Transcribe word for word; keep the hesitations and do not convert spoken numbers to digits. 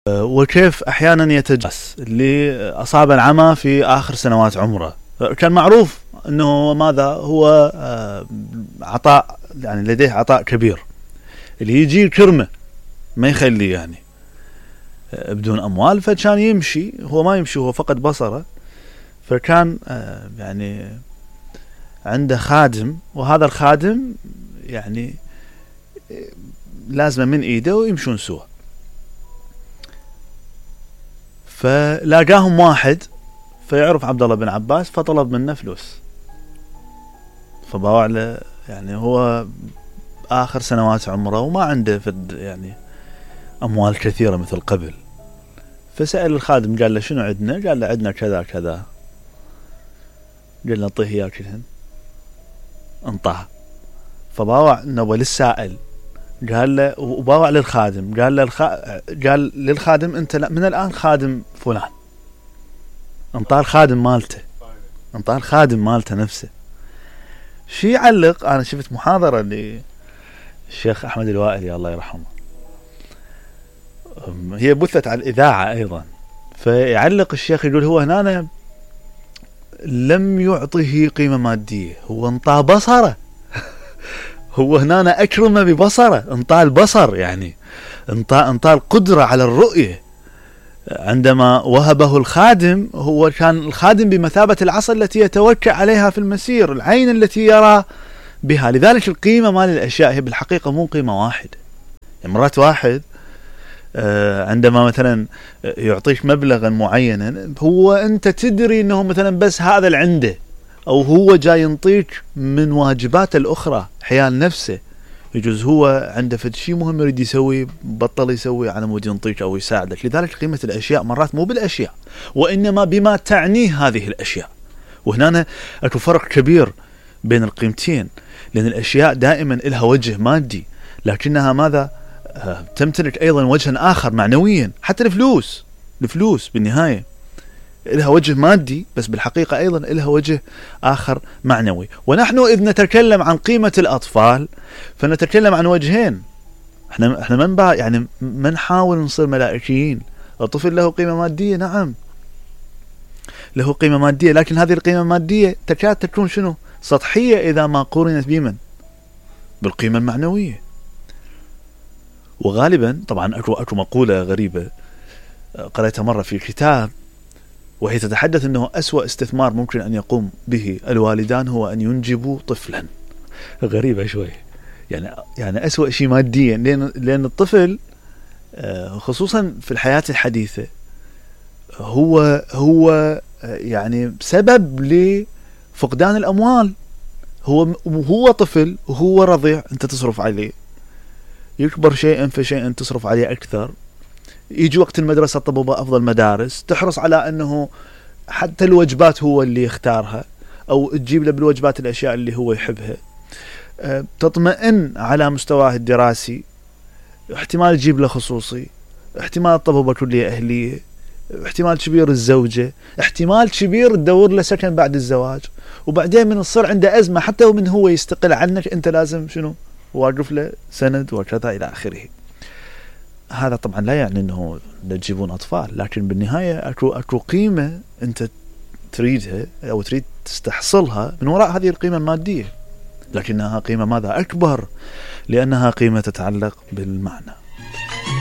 وكيف أحيانا يتجاوز اللي أصاب العمى في آخر سنوات عمره. كان معروف أنه ماذا هو عطاء، يعني لديه عطاء كبير، اللي يجي كرمه ما يخليه يعني بدون أموال، فكان يمشي، هو ما يمشي، هو فقد بصره، فكان يعني عنده خادم، وهذا الخادم يعني لازم من إيده ويمشون سوا. فلاقاهم واحد فيعرف عبد الله بن عباس، فطلب منه فلوس، فباوع له، يعني هو آخر سنوات عمره وما عنده فد يعني أموال كثيرة مثل قبل. فسأل الخادم قال له شنو عندنا؟ قال له عندنا كذا كذا. قال له انطيه إياه كلهن، انطاه. فباوع نوى للسائل، قال له، وباوع للخادم، قال له الخ... قال للخادم انت من الآن خادم فلان. انطاه الخادم مالته، انطاه الخادم مالته نفسه. شي يعلق، انا شفت محاضرة للشيخ احمد الوائلي الله يرحمه، هي بثت على الإذاعة أيضا، فيعلق الشيخ يقول هو هنا لم يعطيه قيمة مادية، هو انطاه بصره هو هنا أكرمه ببصره، انطاه البصر، يعني انطاه انطاه القدرة على الرؤية. عندما وهبه الخادم، هو كان الخادم بمثابة العصا التي يتوكأ عليها في المسير، العين التي يرى بها. لذلك القيمة مال الأشياء هي بالحقيقة مو قيمة واحدة. يعني مرات واحد عندما مثلا يعطيك مبلغا معينا، هو أنت تدري أنه مثلا بس هذا اللي عنده، أو هو جاي ينطيك من واجباته الأخرى حيال نفسه. يجوز هو عنده فد شيء مهم يريد يسوي، بطل يسوي على مود ينطيك أو يساعدك. لذلك قيمة الأشياء مرات مو بالأشياء، وإنما بما تعنيه هذه الأشياء. وهنا أكو فرق كبير بين القيمتين، لأن الأشياء دائما لها وجه مادي، لكنها ماذا تمتلك أيضا وجها آخر معنويا. حتى الفلوس الفلوس بالنهاية لها وجه مادي، بس بالحقيقة أيضا لها وجه آخر معنوي. ونحن إذ نتكلم عن قيمة الأطفال فنتكلم عن وجهين. احنا احنا من بقى يعني ما نحاول نصير ملائكيين. الطفل له قيمة مادية، نعم له قيمة مادية، لكن هذه القيمة المادية تكاد تكون شنو؟ سطحية إذا ما قورنت بمن؟ بالقيمة المعنوية. وغالبا طبعا أكو, أكو مقولة غريبة قرأتها مرة في كتاب، وهي تتحدث أنه أسوأ استثمار ممكن أن يقوم به الوالدان هو أن ينجبوا طفلا. غريبة شوي، يعني يعني أسوأ شيء ماديا، لأن لأن الطفل خصوصا في الحياة الحديثة هو هو يعني سبب لفقدان الأموال. هو هو طفل وهو رضيع، أنت تصرف عليه، يكبر شيئا فشيئا تصرف عليه أكثر، يجي وقت المدرسة طب أفضل مدارس، تحرص على أنه حتى الوجبات هو اللي يختارها، أو تجيب له بالوجبات الأشياء اللي هو يحبها، تطمئن على مستواه الدراسي، احتمال تجيب له خصوصي، احتمال الطب كلية أهلية، احتمال كبير الزوجة، احتمال كبير تدور له سكن بعد الزواج، وبعدين من الصر عنده أزمة حتى ومن هو يستقل عنك أنت لازم شنو واقف له سند وكذا إلى آخره. هذا طبعا لا يعني أنه لا تجيبون أطفال، لكن بالنهاية أكو, أكو قيمة أنت تريدها أو تريد تستحصلها من وراء هذه القيمة المادية، لكنها قيمة ماذا أكبر، لأنها قيمة تتعلق بالمعنى.